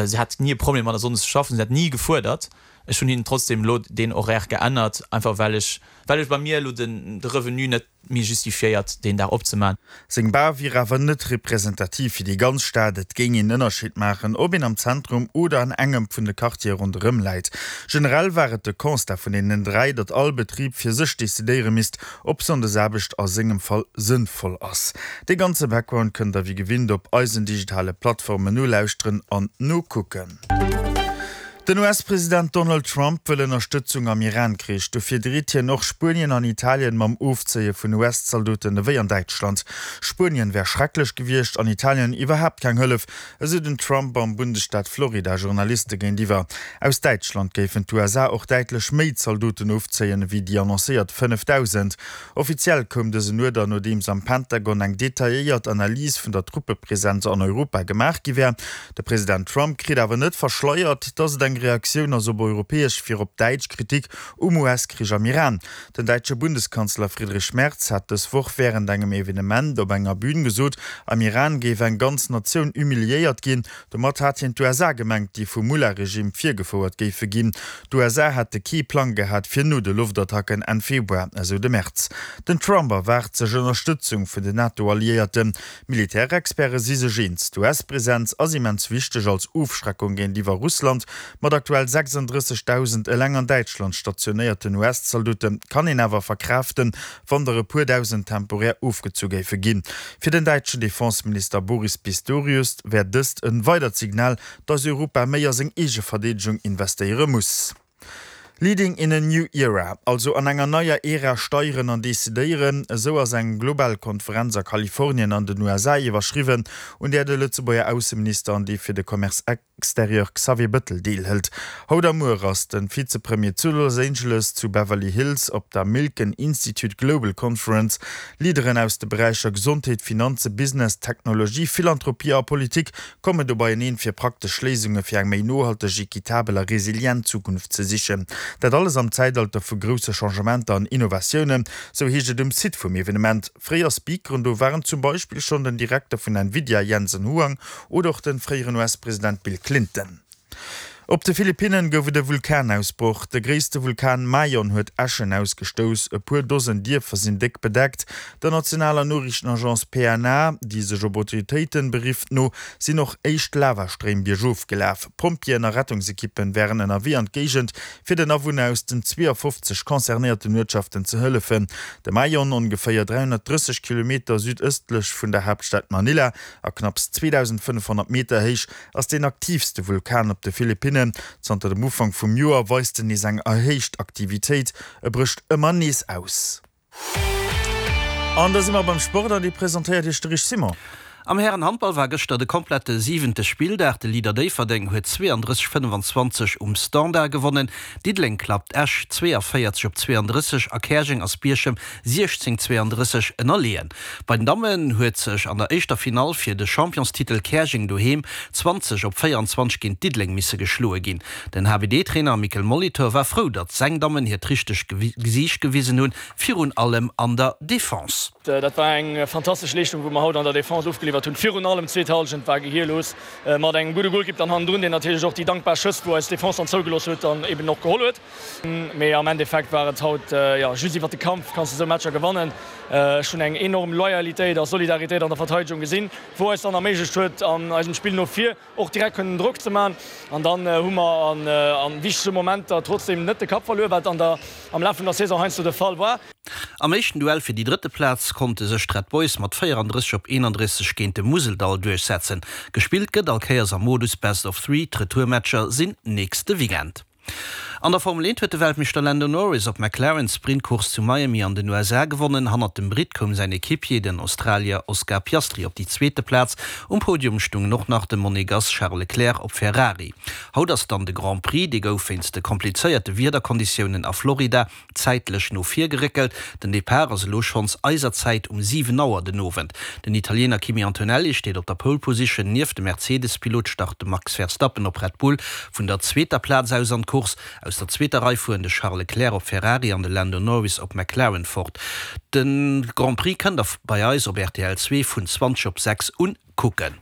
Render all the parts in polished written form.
Si hat ni e Problem mat sonndes ze schaffen, si hat ni gefuerdert. Ech hunn hinnen trotzdem elo deen Horaire geännert, einfach well ech, well ech bei mir elo den de Revenu net méi justifiéiert deen Dag opzemaachen. Seng Bar wier awer net representativ fir déi ganz Stad, et géing een Ënnerscheed maachen, ob een am Zentrum oder an engem vun de Quartiere ronderëm läit. Generell war et de Constat vun deenen 3, datt all Betrib fir sech decidéiere misst, ob Sonndesaarbecht a sengem Fall sënnvoll ass. Dee ganze Background kënnt der wéi gewinnt op eisen digitale Plattformen nolauschteren an nokucken. Den US-President Donald Trump wëll Ënnerstëtzung am Iran-Krich. Dofir dreet hien och Spuenien an Italien mam Ofzéie vun US-Zaldoten ewéi an Däitschland. Spuenien wär schrecklech gewiescht, an Italien iwwerhaapt keng Hëllef, esou den Trump am Bundesstaat Florida Journaliste géintiwwer. Aus Däitschland géifen d'USA och däitlech méi Zaldoten ofzéien, ewéi déi annoncéiert 5.000. Offiziell koum dësen Uerder, nodeems am Pentagon eng detailléiert Analys vun der Truppepresenz an Europa gemaach gi wär. De President Trump kritt awer net verschleiert, datt et eng Reaktioun ass op europäesch, virop däitsch Kritik um US-Krich am Iran. Den däitsche Bundeskanzler Friedrich Merz hat dës Woch wärend engem Evenement op enger Bün gesot, am Iran géif eng ganz Natioun humiliéiert ginn. Domat hat hien d'USA gemengt, déi vum Mullah-Regime virgefouert géife ginn. D'USA hätte kee Plang gehat fir no de Loftattacken Enn Februar, esou de Merz. Den Trump erwaart sech Ënnerstëtzung vun den NATO-Alliéierten. Militärexperte si sech eens, d'US-Presenz ass immens wichteg als Ofschreckung géintiwwer Russland. Mat aktuell 36.000 eleng an Däitschland stationéierten US-Zaldote kann een awer verkraaften, wann der e puer Dausend temporär ofgezu géife ginn. Fir den däitschen Defenseminister Boris Pistorius wär dëst e weidert Signal, datt Europa méi a seng eege Verdeedegung investéiere muss. Leading in a new era, also an enger neier Ära steieren an decidéieren, esou ass eng global Konferenz a Kalifornien an den USA iwwerschriwwen, un där de Lëtzebuerger Ausseminister an dee fir de Commerce extérieur Xavier Bëttel deelhëlt. Haut a muer ass de Vizepremier zu Los Angeles zu Beverly Hills op der Milken Institute Global Conference. Leaderen aus de Beräicher Gesondheet, Finanze, Business, Technologie, Philanthropie a Politik kommen do beieneen, fir praktesch Léisunge fir eng méi nohalteg, equitabel a resilient Zukunft ze sichen. Dat alles am Zäitalter vu grousse Changementer an Innovatiounen, sou heescht et um Site vum Evenement. Fréier Speakeren do waren zum Beispill schonn den Direkter vun Nvidia Jensen Huang oder och de fréieren US-President Bill Clinton. Op de Philippinnen gouf et e Vulkanausbroch. De gréisste Vulkan Mayon huet Äschen ausgestouss. E puer Dosen Dierfer sinn déck bedeckt. Der nationaler Noriichtenagence PNA, déi sech op Autoritéiten berifft, no sinn och éischt Lavastréim biergof gelaf. Pompjeeën a Rettungsekippen wären ënnerwee an d'Géigend, fir den Awunner aus den 52 concernéierten Uertschaften ze hëllefen. De Mayon, ongeféier 330 Kilometer südëstlech vun der Haaptstad Manila a knapps 2.500 Meter héich, ass deen aktiivste Vulkan op de Philippinnen. Zanter dem Ufank vum Joer weist en nees eng erhéicht Aktivitéit, e brécht ëmmer nees aus. An da si mer beim Sport an dee presentéiert Iech de Rich Simon. Am Härenhandball war gëschter de komplette siwente Spilldag. De Leader Déifferdeng huet 32, 25 um Standard gewonnen. Diddeleng klappt Esch 42 op 32 a Käerjeng ass Bierchem 16, 32 ënnerleeën. Bei den Dammen huet sech an der éischter Finall fir de Championstitel Käerjeng doheem 20 op 24 géint Diddeleng misse geschloe ginn. Den HBD-Trainer Mikel Molitor war frou, datt seng Dammen hiert richtegt Gesiicht gewisen hunn, virun allem an der Defense. Dat war eng fantastesch Leeschtung, wou mer haut an der Defense ofgeliwwert hunn. Virun allem d'zweet Hallschent war gehierlos, mat engem gudde Golkipp dann hannendrun, deen natierlech och déi dankbar Schëss, wou eis Defense dann zougelooss huet, dann eben och geholl huet. Mee am Endeffekt war et haut, jo, just iwwert de Kampf kanns de esou Matcher gewannen. Ech hunn eng enorm Loyalitéit a Solidaritéit an der Verteidegung gesinn, wou eis dann erméiglecht huet, an eisem Spill no vir och direkt kënnen Drock ze man. An dann hu mer an wichtege Momenter trotzdem net de Kapp verluer, wat an der am Laf vun der Saison heiansdo de Fall war. Am éischten Duell fir déi drëtte Plaz konnte sech d'Red Boys mat 34 op 31 géint de Museldall duerchsetzen. Gespillt gëtt all Kéiers am Modus Best of Three, d'Retourmatcher sinn nächste Weekend. An der Formel 1 huet de Weltmeeschter Lando Norris op McLaren d'Sprintcourse zu Miami an den USA gewonnen. Hannert dem Britt koum säin Equipier, den Australier Oscar Piastri op déi zweete Plaz. Um Podium stungen och nach de Monegass Charles Leclerc op Ferrari. Haut ass dann de Grand Prix, dee gouf wéinst de komplizéierte Wiederkonditiounen a Florida zäitlech no vir geréckelt. Den Depart ass elo schonns eiser Zäit um 7 Auer den Owend. Den Italiener Kimi Antonelli steet op der Pole Position. Nieft dem Mercedes-Pilot start de Max Verstappen op Red Bull vun der zweeter Plaz aus an d'Course. Aus der zweeter Rei fueren de Charles Leclerc op Ferrari an de Lando Norris op McLaren fort. De Grand Prix kënnt der bei eis op rtl 2 vun 20 op 6 un kucken.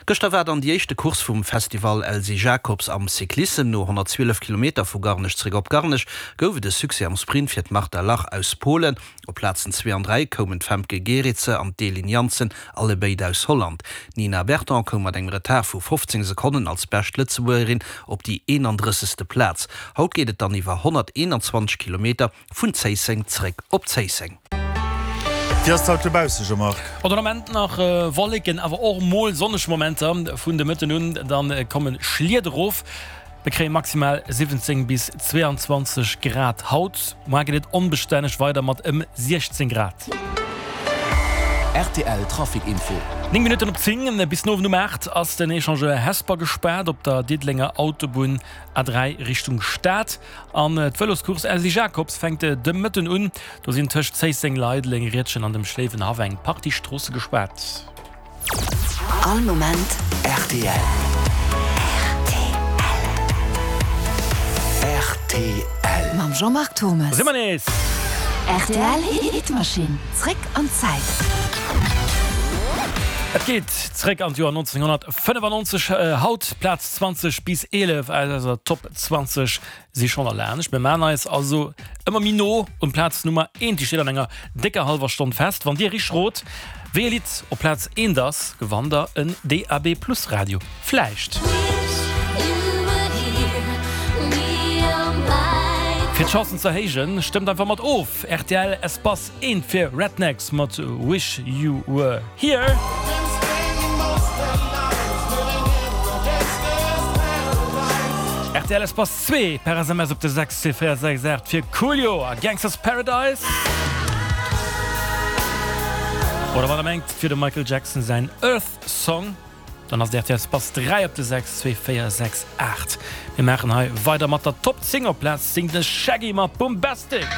Gëschter war dann déi éischte Course vum Festival Elsy Jacobs am Cyclissem. No 112 Kilometer vu Garnech zeréck op Garnech gouf et e Succès am Sprint fir d'Marta Lach aus Polen. Op Plazen zwee an 3 koumen d'Femke Gerritse an d'Elin Janssen, allebéid aus Holland. D'Nina Berton koum mat engem Retard vu 15 Sekonnen als bescht Lëtzebuergerin op déi 31. Plaz. Haut geet et dann iwwer 121 Kilometer Vun Zéisseng zréck op Zéisseng. Wéi ass et haut dobausse, Jean-Marc? Bon, den Ament nach Wolleken, awer och mol sonneg Momenter. Vun de Mëtten un dann komme Schliet erof. Mir kréie maximal 17 bis 22 Grad haut. Muar geet et onbestänneg weider mat ëm 16 Grad. Rtl Trafic Info. 9 Minutten op 10, Bis den Owend um 8 ass den Echangeur Hesper gespaart op der Diddelenger Autobunn A3 Richtung Stad. An d'Vëloscourse Elsy Jacobs fänkt de Mëtten un. Do sinn tëscht Zéisseng, Leideleng, Riedgen an dem Schléiwenhaff eng Partie Stroosse gespaart. All Moment rtl. Rtl. Mam Jean-Marc Thommes. Do si mer nees! Rtl Hitmaschinn, zréck an d'Zäit. Et geet zréck an d'Joer 1995. Haut Plaz 20 bis 11 aus eiser Top 20 si schonn erlaanscht. Mir maan eis also ëmmer méi no un Plaz Nummer eent. Déi steet an enger décker hallwer Stonn fest. Wann dir richteg rot, wéi e Lidd op Plaz eent ass, gewannt der en DAB Plus Radio. Vläicht. Fir d'Chancen ze erhéijen, stëmmt einfach mat of! Rtl Espace eent fir Rednex mat Wish You Were Here. Rtl Espace 2 per SMS op de 62468 fir Coolio a Gangsta's Paradise. Oder wann der mengt fir dem Michael Jackson säin Earth Song. Dann ass et rtl Espace 3 op de 6 2 4 6 8. Mir maachen hei weider mat der Top 10 op Plaz 10 de Shaggy mat Boombastic.